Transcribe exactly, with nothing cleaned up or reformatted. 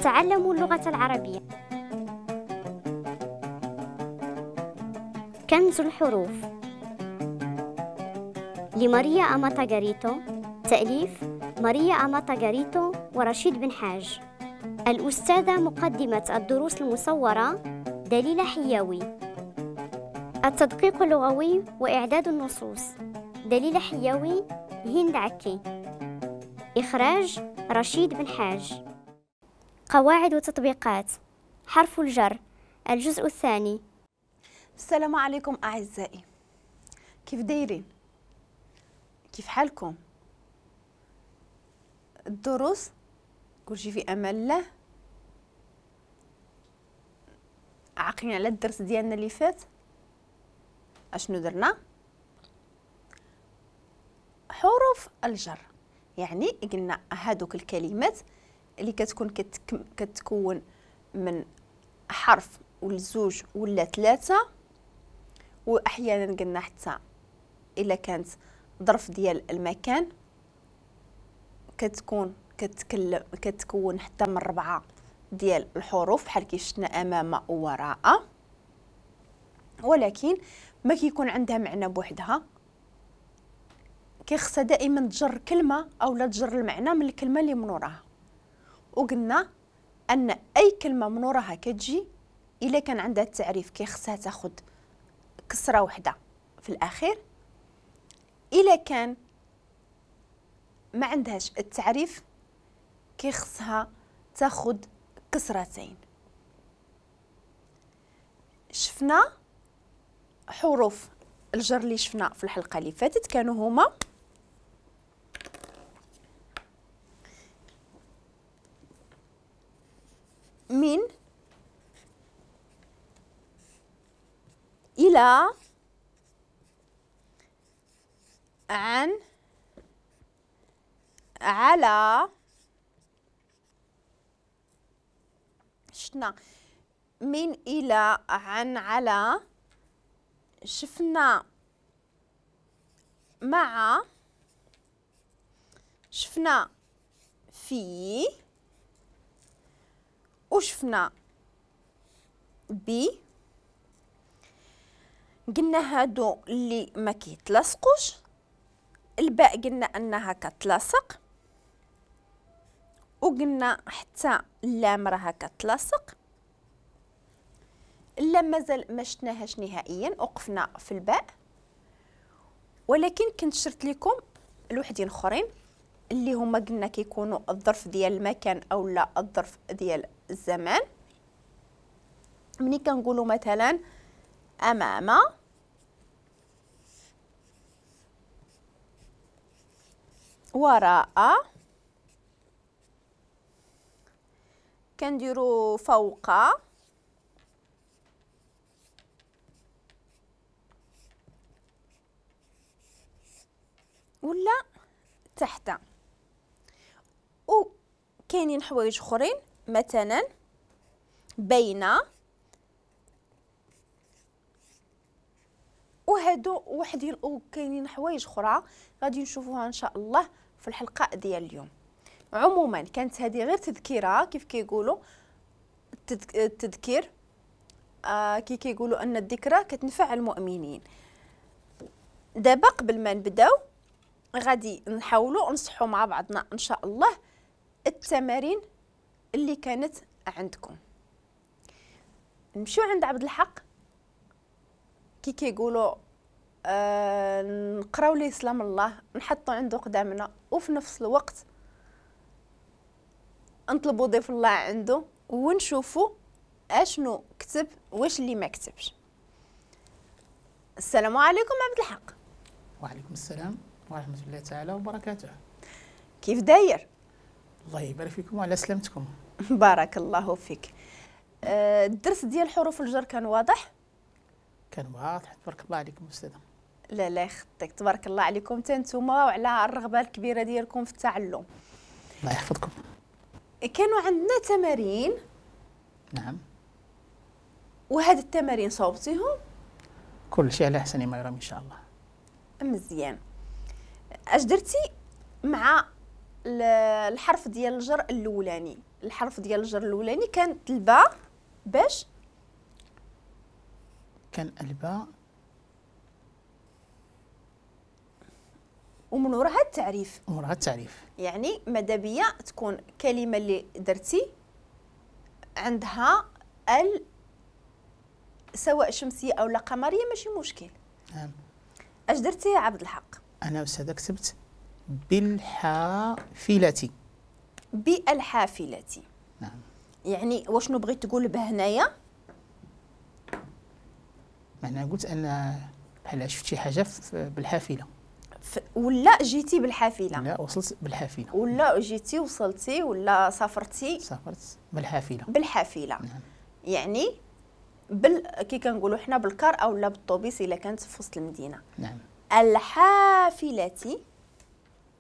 نتعلم اللغة العربية. كنز الحروف لماريا أماتا غاريتو، تأليف ماريا أماتا غاريتو ورشيد بن حاج. الأستاذة مقدمة الدروس المصورة دليلة حياوي. التدقيق اللغوي وإعداد النصوص دليلة حياوي، هند عكي. إخراج رشيد بن حاج. قواعد وتطبيقات حرف الجر، الجزء الثاني. السلام عليكم أعزائي، كيف دايرين؟ كيف حالكم؟ الدروس كلشي في امان الله. عاقلين على الدرس ديالنا اللي فات؟ اشنو درنا؟ حروف الجر، يعني قلنا هادوك الكلمات اللي كتكون كتك... كتكون من حرف ولا زوج ولا ثلاثة، واحيانا قلنا حتى الا كانت ظرف ديال المكان كتكون كتكلم كتكون حتى من ربعة ديال الحروف بحال كي شفنا امام ووراء، ولكن ما كيكون عندها معنى بوحدها، كيخصها دائما تجر كلمة او لا تجر المعنى من الكلمة اللي من وراها. وقلنا ان اي كلمة من وراها كتجي الا كان عندها التعريف كيخصها تاخذ كسره وحده في الاخير، الا كان ما عندهاش التعريف كيخصها تاخذ كسرتين. شفنا حروف الجر اللي شفنا في الحلقة اللي فاتت كانوا هما من، إلى، عن، على. شفنا من، إلى، عن، على. شفنا مع، شفنا في، وشفنا بي. قلنا هادو اللي ما كيتلاصقوش، الباء قلنا انها كتلاصق، وقلنا حتى اللام راها كتلاصق. اللام مازال ما شفناهاش نهائيا، وقفنا في الباء، ولكن كنت شرت لكم الوحدين اخرين اللي هما قلنا كيكونوا الظرف ديال المكان او لا الظرف ديال الزمان. ملي كنقولوا مثلا امام، وراء، كنديروا فوق، ولا تحت. وكاينين حوايج اخرين مثلا بين، وهادو وحدين، وكاينين حوايج اخرى غادي نشوفوها ان شاء الله في الحلقة ديال اليوم. عموما كانت هذه غير تذكيره، كيف كيقولوا التذكير، آه كي كيقولوا ان الذكرى كتنفع المؤمنين. دابا قبل ما نبداو غادي نحاولوا نصحوا مع بعضنا ان شاء الله التمارين اللي كانت عندكم. نمشيو عند عبد الحق، كي كيقولوا آه نقراو ليه سلام الله، نحطو عنده قدامنا، وفي نفس الوقت نطلبوا ضيف الله عنده ونشوفوا اشنو كتب واش اللي ما كتبش. السلام عليكم عبد الحق. وعليكم السلام ورحمة الله تعالى وبركاته. كيف داير؟ الله يبارك فيكم وعلى سلامتكم. بارك الله فيك. آه الدرس ديال حروف الجر كان واضح؟ كان واضح، تبارك الله عليكم أستاذة. لا لا يخطيك، تبارك الله عليكم حتى نتوما وعلى الرغبة الكبيرة ديالكم في التعلم. الله يحفظكم. كانوا عندنا تمارين. نعم. وهاد التمارين صوبتيهم؟ كل شيء على احسن ما يرام ان شاء الله. مزيان. اش درتي مع الحرف ديال الجر الاولاني. الحرف ديال الجر الاولاني كانت الباء، باش كان الباء ومن وراها التعريف. ومن وراها التعريف، يعني ماذا بيا تكون كلمة اللي درتي عندها ال سواء شمسية او لا قمريه ماشي مشكل. نعم. اش درتي يا عبد الحق؟ انا استاذه كتبت بالحافلة. بالحافلة. نعم. يعني واشنو بغيت تقول بهنايا؟ معناها قلت ان بحال شفت شي حاجة بالحافله، ولا جيتي بالحافله، لا وصلت بالحافله، ولا جيتي وصلتي، ولا سافرتي، سافرت بالحافله. بالحافله. نعم. يعني بال كي كنقولوا حنا بالكار او لا بالطوبيس الا كانت في وسط المدينة. نعم. الحافلة